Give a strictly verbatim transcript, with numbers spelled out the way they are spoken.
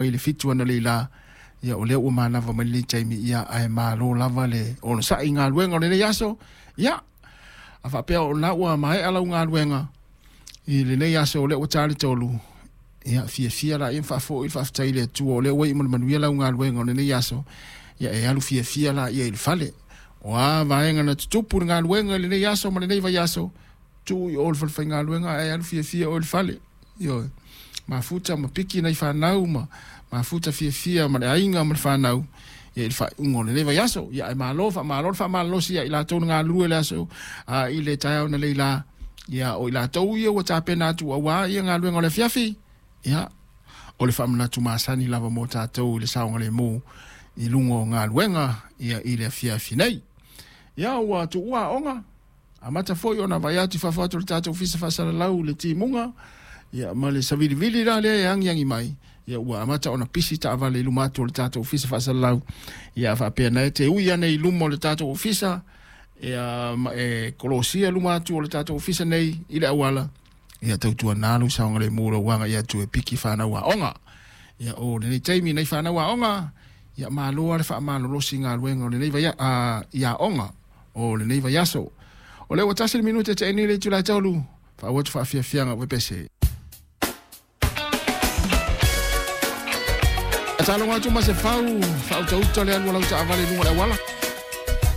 I le fitu analeila, ia o lea ua manava mai lenei taimi, ia ae malo lava le onosai i galuega o lenei aso. Ia a faapea o lena ua maea lau galuega i lenei aso o lea ua ta le tolu, ia fiafia laia ma faafoi le faafetai i le Atua o lea ua iu ma le manuia lau galuega o lenei aso. Ia e alu fiafia laia i le fale. O a vaega na tutupu i le galuega i lenei aso ma lenei vaiaso, tuu i o i le falefaigaluega ae alu fiafia oe i le fale. Ioe, mafuta ma piki nai fanau ma mafuta fiafia ma le aiga ma le fanau ia i le faaiuga o lenei vaiaso. Ia ae malo, faamalo le faamalolosi ia i latou na galulue le aso a i le taeao na leila. Ia o i latou ia ua tapena atu aua ia galuega o le afiafi. Ia o le faamanatu masani lava mo tatou i le saogalemu i luga o galuega ia i le afiafi nei. Ia ua tuua aoga, amata foi ona vaai atu i fafo atu o le tatou ofisa faasalalau le timuga, ia ma le savilivili la lea e agiagi mai, ia ua amata ona pisi taavale i luma atu o le tatou ofisa faasalalau. Ia faapea na e te ui ane i luma o le tatou ofisa, ia ma e kolosia luma atu o le tatou ofisa nei i le auala, ia tautuana lou saogalemu lou aga'i atu e piki fanau aoga. Ia o lenei taimi nei fanau aoga, ia malo lava le faamalolosi i galuega o lenei vaia a i aoga o lenei vaiaso. O lea ua tasi le minute tea nei le itula e tolu, faaauau atu faafiafiaga o pepese. Taaloga atu ma se fau, faautauta le alu a lau taavale i luga o le auala.